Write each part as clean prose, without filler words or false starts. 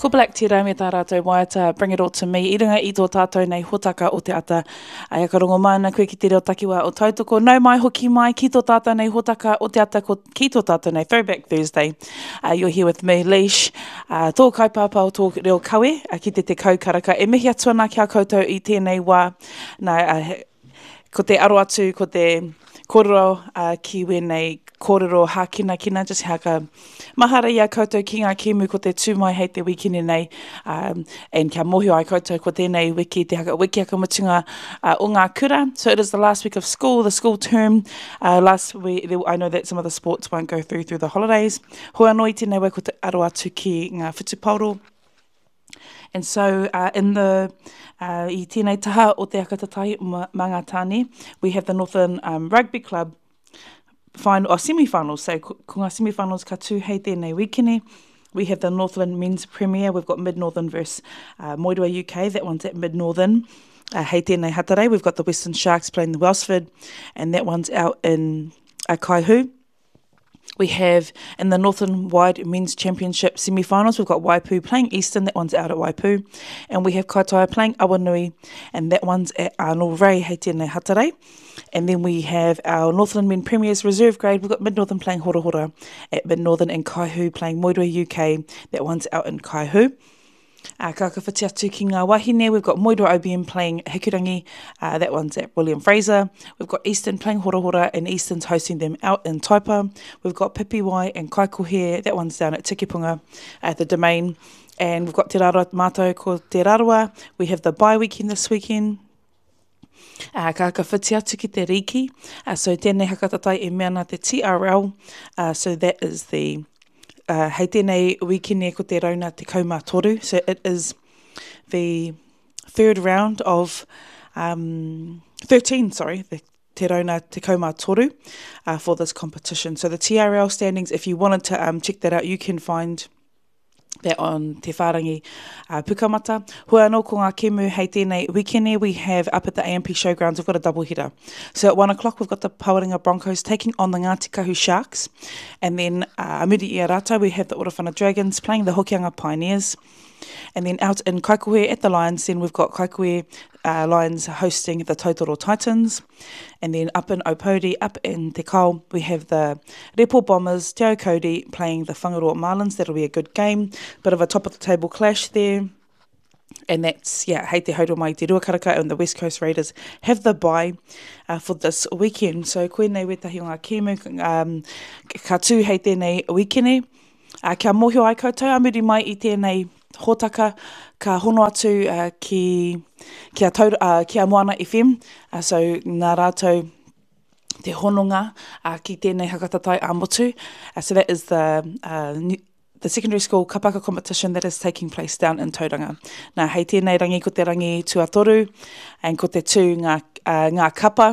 Ko Black Tera me tā rātou waiata Bring It All To Me i runga i tō tātou nei hotaka o te ata. Ai ka rongo mai ana koe ki te reo takiwā o Tautoko. Nau mai hoki mai ki tō tātou nei hotaka o te ata ko ki tō tātou nei Throwback Thursday. Uh, you're here with me, Leish, uh, tō kaipāpā o tō reo kawe uh, ki te tekau karaka. E mihi atu ana ki a koutou i tēnei wā. Nā, uh, ko te aro atu, ko te kōrero uh, ki wēnei kōrero hākinakina, just haka mahara i a koutou ki ngā kēmu ko te tū mai hei te wikene nei, um, and kia mōhio ai koutou ko tēnei wiki, te haka, wiki haka mutunga uh, o ngā kura. So it is the last week of school, the school term. Uh, last week, I know that some of the sports won't go through through the holidays. Hoi anō i tēnei wā ko te aro atu ki ngā whutupaoro, And so uh, in the uh, i tēnei taha o te Akatatai mā ngā tāne, we have the Northern um, Rugby Club final, oh, semi-finals. So ko, ko ngā semi-finals ka tū hei tēnei wikene. We have the Northland Men's Premier. We've got Mid-Northern versus uh, Moerewa UK. That one's at Mid-Northern. Uh, hei tēnei Hatarei, we've got the Western Sharks playing the Wellsford, and that one's out in uh, Kaihu. We have in the Northern Wide Men's Championship semi-finals, we've got Waipu playing Eastern, that one's out at Waipu. And we have Kaitaia playing Awanui, and that one's at Arnold Ray, hei tēnei Hatarei. And then we have our Northland Men Premiers Reserve Grade. We've got Mid-Northern playing Horahora at Mid-Northern and Kaihu playing Moerewa UK. That one's out in Kaihu. Uh, ka whakawhiti atu ki ngā wahine, we've got Moerewa OBM playing Hikurangi, uh, that one's at William Fraser. We've got Eastern playing Horahora and Eastern's hosting them out in Taipa. We've got Pipiwai and Kaikohe, that one's down at Tikipunga at the Domain. And we've got Te Rarawa Mātou ko Te Rarawa. We have the bye weekend this weekend. Uh, ka whakawhiti atu ki te rīki. Uh, so tēnei hakatatai e mea ana te TRL. Uh, so that is the uh, hei tēnei wikene ko te rauna 13. So it is the third round of um, 13, sorry, the te rauna 13 uh, for this competition. So the TRL standings, if you wanted to um, check that out, you can find that on Te Whārangi uh, Pukamata. Hoi anō ko ngā kemu hei tēnei wikene, we have up at the AMP Showgrounds, we've got a double header. So at 1 o'clock, we've got the Pawarenga Broncos taking on the Ngāti Kahu Sharks. And then uh, muri i a rātou, we have the Orowhana Dragons playing the Hokianga Pioneers. And then out in Kaikohe at the Lions, then we've got Kaikohe uh, Lions hosting the Tautoro Titans. And then up in Opouri, up in Te Kao, we have the Repo Bombers, Te Aukōuri playing the Whangaroa Marlins. That'll be a good game. Bit of a top of the table clash there. And that's, yeah, hei te hauro mai te rua karaka and the West Coast Raiders have the bye uh, for this weekend. So koinei wētahi o ngā kēmu um, ka tū hei tēnei wikene. Uh, kia mōhio ai koutou a muri mai i tēnei hōtaka, ka hono atu uh, ki, ki, a Taur, uh, ki a Moana FM. Uh, so nā rātou te hononga uh, ki tēnei hakatatai ā-motu. Uh, so that is the uh, new, the secondary school kapaka competition that is taking place down in Tauranga. Nā, hei tēnei rangi ko te rangi tuatoru, and ko te tū ngā, uh, ngā kapa,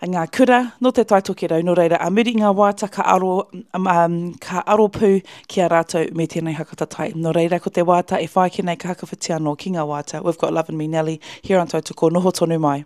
ngā kura, nō te Tai Tokerau, nō reira, a muri i ngā waiata ka aro, um, um, ka aro pū ki a rātou me tēnei hakatatai. Nō reira, ko te waiata e whai ake nei ka hakawhiti anō ki ngā waiata. We've got Lovin' Me Nelly here on Tautoko, noho tonu mai.